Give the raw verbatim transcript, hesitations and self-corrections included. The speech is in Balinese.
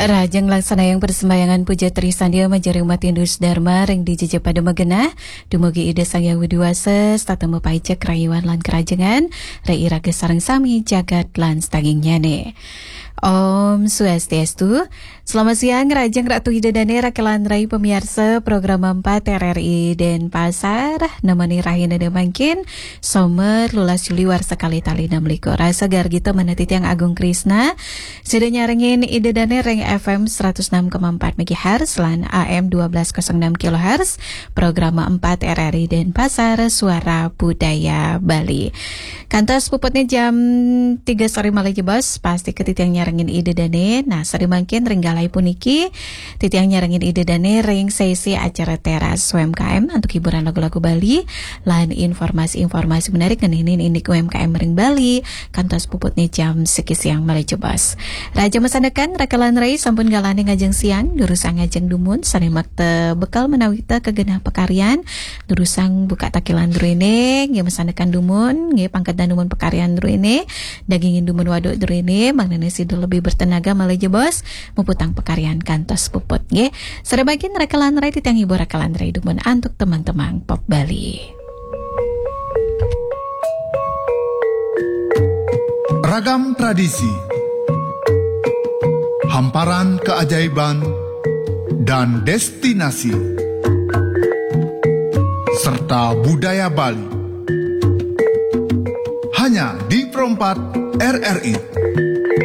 Rahajeng nglaksanayang parsembahyangan puja trisandia majeng umat Hindu Dharma ring dija pada magenah, dumugi Ida Sang Hyang Widi Wasa, setata mapaica karayuan lan karahajengan, ring iraga sareng sami jagat lan sadagingnyane. Om Swastiastu. Selamat siang, rahajeng Ratu Ida Dane, Raka lan Rai pamiarsa Program empat R R I Denpasar, nemeni rahinane mangkin, Somer, lulas Juli warsa kalih tali enam likur. Rasa gargita manah titiang Agung Krisna, sida nyarengin Ida Dane ring F M seratus enam koma empat megahertz lan A M dua belas kosong enam kilohertz, Program empat R R I Denpasar, Suara Budaya Bali. Kantos puputnya jam tiga sore malih jebos, pasti ke titiang nyarengin Ida Dane. Nah, sari mangkin ring galai puniki, titiang nyarengin Ida Dane ring sesi acara teras U M K M untuk hiburan lagu-lagu Bali, lan informasi-informasi menarik ngeninin indik U M K M ring Bali, kantos puputnya jam siki siang malih jebos. Rahajeng masandekan, Raka lan Rai sampun galahne ngajeng siang, durusang ngajeng dumun, sane makta bekal menawi ta kagenah pakaryan, durusang buka takilan druene, nggih masandekan dumun, nggih pangkedan dumun pakaryan druene, dagingin dumun waduk druene, mangdane sida lebih bertenaga malih jebos, muputang pakaryan kantos puput, nggih. Sare mangkin Raka lan Rai titiang hibur Raka lan Rai dumun antuk teman-teman pop Bali. Ragam tradisi, hamparan keajaiban, dan destinasi, serta budaya Bali. Hanya di Pro empat R R I.